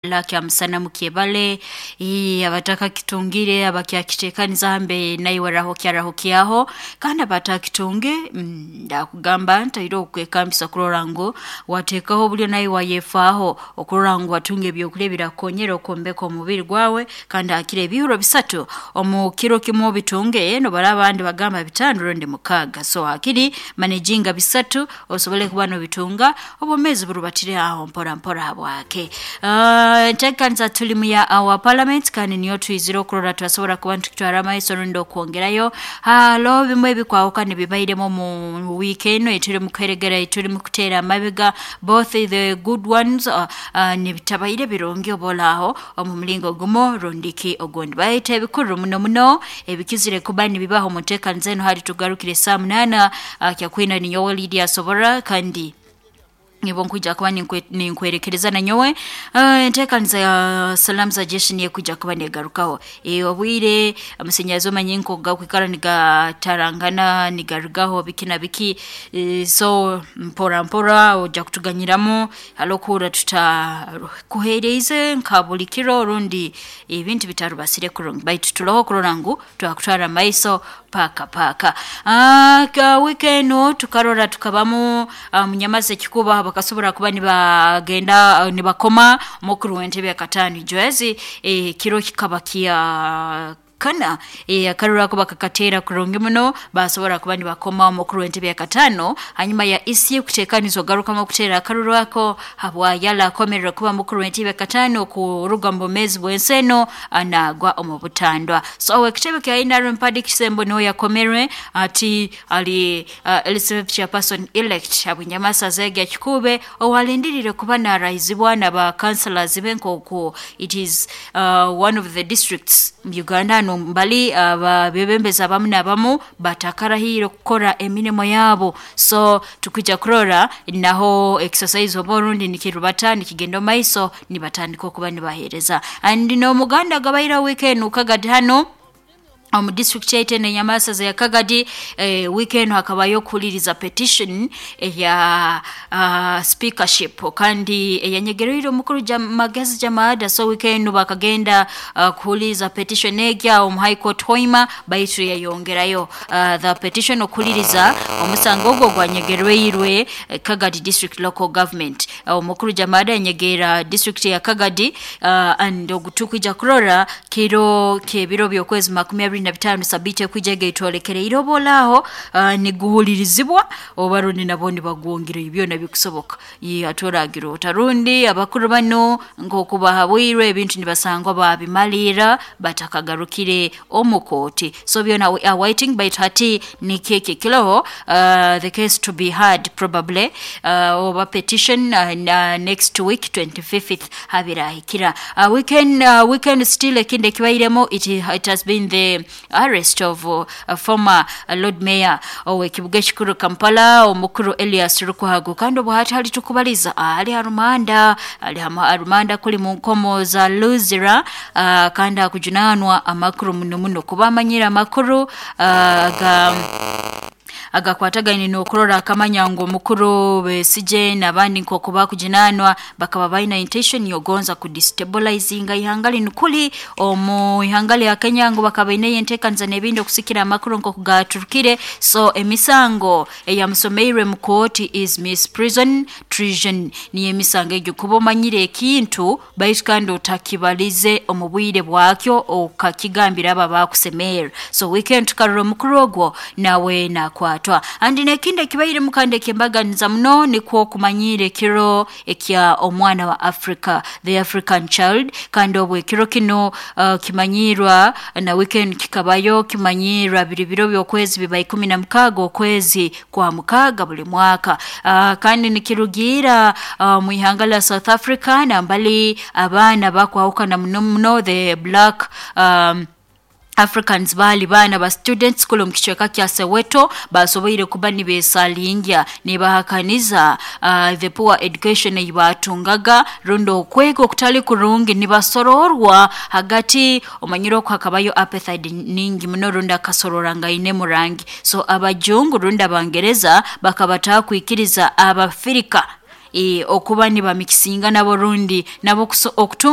Kyamusana mukyebale abatakakitungire abakyakiteekaniza hambe naiwe rahukya kandi abatakitunge ndakugamba ntaire okwekambisa kurora ngu wateekaho obulyo naiwe wayefaaho okurora ngu watunga ebyokurya ebirakukonyera okwombeka omubiri gwawe, kandi hakire ebihuro bisatu omu kiro kimu obitunge, nobaraba abandi bagamba bitaano rundi mukaaga, so hakiri manejinga bisatu osobole kuba nobitunga, obwomeezi burubatire aho mpora mpora habwake. Enteekaniza tulimu ya our parliament kandi niyo twizire okurora turasobora kuba nitukitwara mumaiso rundi okwongerayo. Haroho bimu ebikwahukana ebibairemu omu wiiki enu eiturimu kuheregera eiturimu kuteera amabega, both the good ones nibitabaire birungi oba ori aho omu muringo gumu rundi ki ogundi. Baitu ebikuru muno muno ebikizire kuba nibibaho omu nteekaniza enu hati tugarukire saaha munaana, kyakwina ninyowe Lydia Sobora kandi nibo nkwija kuba ninkwerekereza nanyowe enteekaniza ya Salamu za Jeshi niyo ekwija kuba negarukaho. Obwire amasanyarazi omanyire nkoku gakwikara nigatarangana nigarugaho biki na biki, so mpora mpora ojja kutuganyiramu haroho okuhurra tutakuheeriize nka buli kiro rundi ebintu bitarubasire kurungi, baitu turoho kurora ngu twakutwara mumaiso paaka paaka. Wiiki enu tukarora tukabamu munyamazi ekikuubo bakasobora kuba nibagenda nibakoma mukuru w'entebe yakataano Ijwezi, ekiro kikaba kya kana, akaruru ako bakakateera kurungi muno baasobora kuba nibakoma omukuru w'entebe yakataano hanyuma ya EC kuteekaniza okugarukamu okuteera akaruru ako habwa yala akomererwe kuba mukuru w'entebe yakataano kuruga mu bwomeezi bw'ensi enu naagwa omu butandwa. So ow'ekitebe kya NRM Paddy Kisembo nuwe yakomerwe ati ali LCV chairperson elect habw'enyamasaza egi ekikuube owalindiriire kuba naarahizibwa na ba councillors be nkooku it is one of the districts mu Uganda hanu mbali abebembezi abamu n'abamu batakarahiire kukora emirimo yaabo, so tukwija kurora naho exercise oba orundi nikirubata nikigenda omumaiso nibatandika okuba nibaheereza. And n'omuganda gabaireho wiiki enu Kagadi hanu omu district yaitu enu enyamasaza ya Kagadi, wiiki enu hakabayo okuhuliriza petition eya speakership kandi eyanyegereire omukuru Magezi Jamada, so wiiki enu bakagenda kuhuliriza petition egi aho omu High Court Hoima baitu yayongerayo the petition okuhuliriza omusango ogu ogwanyegerweirwe Kagadi District Local Government. Omukuru Jamada yanyegerra district ya Kagadi and ogu tukwija kurora kiro ky'ebiro by'okwezi 25 sabiiti ekwija egi eitwolekereire oba ori aho niguhulirizibwa oba rundi nabwo nibagwongerayo byona bikusoboka. Hati oragira ota rundi abakuru banu nkooku bahabwirwe ebintu nibasangwa baabimaliira batakagarukire omu kooti. So byona we are waiting baitu hati nikyo eki ekiroho, the case to be heard probably oba petition next week 25th habirahikira. Weekend still ekindi ekibairemu it has been the arrest of former Lord Mayor ow'ekibuga ekikuru Kampala omukuru Elias Lukwago, kandi obu hati hali tukubaliza ali ha rumanda, ali ha rumanda kuli mu nkomo za Luzira, kandi akujunaanwa amakuru muno muno kuba amanyire amakuru ga agakwatagaine n'okurora akamanya ngu omukuru Besigye n'abandi nkooku bakujunaanwa bakaba baine intention y'okugonza kudestabilizinga ihanga linu kuli omu ihanga lya Kenya ngu bakaba baineyo enteekaniza n'ebindi okusikira amakuru nkooku gaaturukire. So emisango eyamusomeirwe mu kooti is misprision, treason, niyo emisango egi kuba omanyire ekintu baitu kandi otakibalize omu bwire bwakyo okakigambira abo abakusemerra. So weekend tukarora omukuru ogwo nawe naakwatwa. And n'ekindi ekibairemu kandi eky'embaganiza muno nikwo okumanyiira ekiro ekya omwana wa Africa, the African child, kandi obu ekiro kinu kimanyiirwa na weekend kikabayo kimanyiirwa biri biro by'okwezi biba 16 okwezi kwa mukaaga buli mwaka. Kandi nikirugiira omu ihanga lya South Africa nambali abaana bakwahukana muno muno the black Africans baali baana ba students kuli omu kicweka kya Soweto baasoboire kuba nibeesalingya nibahakaniza the poor education ei baatungaga rundi okwega okutali kurungi nibasoroorwa hagati omanyire oku hakabayo apartheid nyingi muno rundi akasoroorangainemu rangi. So abajungu rundi Abangereza bakaba batakwikiriza Abafirika Okuba nibamikisinga nabo rundi nabo okutunga.